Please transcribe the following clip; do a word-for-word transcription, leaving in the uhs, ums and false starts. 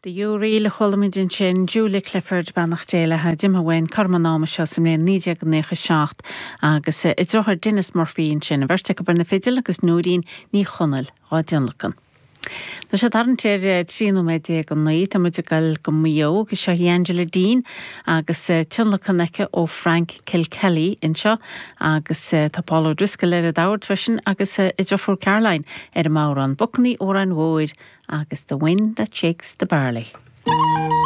The U-Reel a chuala muid ansin Julia Clifford beannacht Dé léi d'imithe uainn cothrom an ama seo sa mbliain naoi déag naocha seacht agus a deartháir Denis Murphy ansin, an bheirt acu ar na fidil agus Nóirín Ní Chonaill á dtionlacan. Tá sé tarraingt ar trí nóiméad déag go naoi tá muid ag dul go Maigh Eo agus seo í Angela Dean agus tionlacan aici ó Frank Kilkelly anseo agus tá Paul O'Driscoll ar an dord freisin agus a deirfiúr Caroline ar an mbodhrán Bacainní Óráin Mhóir agus The Wind That Shakes the Barley.